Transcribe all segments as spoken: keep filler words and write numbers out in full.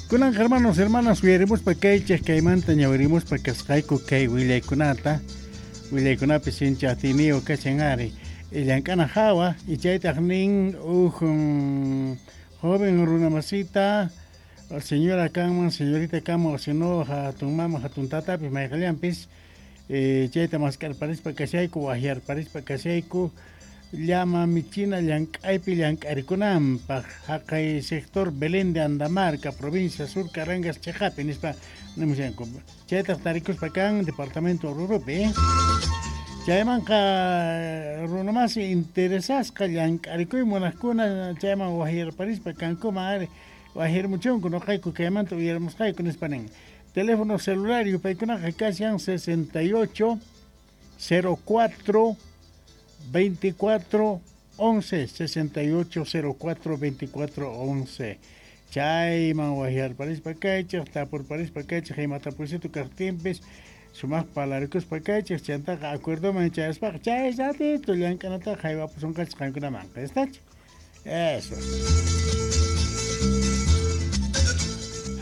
Kunan hermanos, hermanas, uyarimuspa kaychik kaymanta ñawirimuspa kasqayku kay willaykunata, willaykunapi sinchi atiyniyu kashan ari. Llank'ana hawa y chaytaq nin huk joven runamasita, señora kanman, señorita kanman, o si no hatun mama, hatun tatapis mayqallanpis, eh, chayta mask'arparispa kashayku, wahyarparispa kashayku, llama michina llank'aypi llank'arikunanpaq haqay sector Belén de Andamarca, provincia Sur Carangas chiqapi nispa nimushanku. Chaytaq tarikuspa kan departamento Oruropi. Eh? Chaymanqa runamasi interesasqa llank'arikuy munaqkuna chayman wahyarparispa kankuman ari wahyarmuchunku nuqayku kaymanta uyarimusqayku nispa nin. Teléfono celular yupaykunaqa kashan sesenta y ocho cero cuatro veinticuatro once, sesenta y ocho cero cuatro veinticuatro once. Chayman wahyarparispa kaychik, tapurparispa kaychik, imatapusito kaqtinpis sumaq palarikuspa kaychik, chantaqa acuerdoman chayaspaqa chay ratito llank'anataqa haywapusunqachik qankunamanqa, ¿estach? Eso.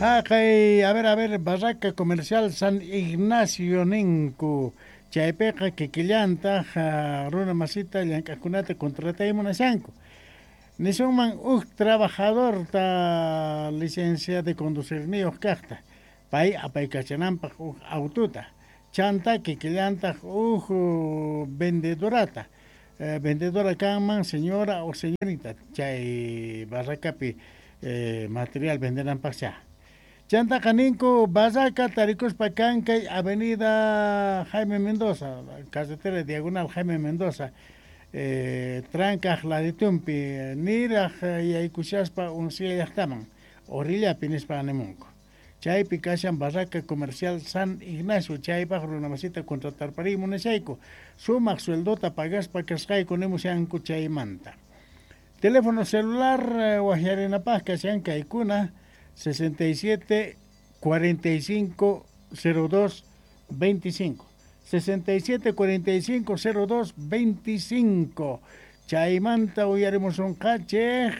Haqay, a ver, a ver, Barraca Comercial San Ignacio ninku. Chaypiqa kikillantaq runa masita llank'aqkunata contratay munashanku. Nisunman huk trabajadorta licencia de conducirniyuq kaqta, pay apaykachananpaq huk aututa, chanta kikillantaq huk vendedorata, eh, vendedora kanman señora o señorita, chay barracapi eh, material vendenanpaq. Chantaqa ninku barraca tarikuspa kankay avenida Jaime Mendoza, carretera diagonal Jaime Mendoza, eh, trankaq laditumpi niraq yaykushaspa unsilla llaqtaman, orillapi nispa nimunku. Chaypi kashan Barraca Comercial San Ignacio, chaypaq runamasita contratarpariy munashayku, sumaq sueldota pagaspa kasqayku nimushanku chaymanta. Teléfono celular eh, wahyarinapaq kashan kaykuna sesenta y siete cuarenta y cinco cero dos veinticinco, sesenta y siete cuarenta y cinco cero dos veinticinco. Chaymanta uyarimusunqachik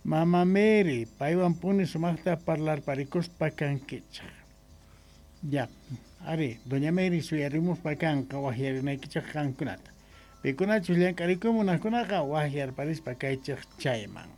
Mama Mary, paywan puni sumaqta parlarparikuspa kankichik. Ya, ari, doña Mary suyarimuspa kanqa wahyarinaykichik qankunata. Pikunachus llank'arikumunaqkunaqa wahyarparispa kaychik chayman.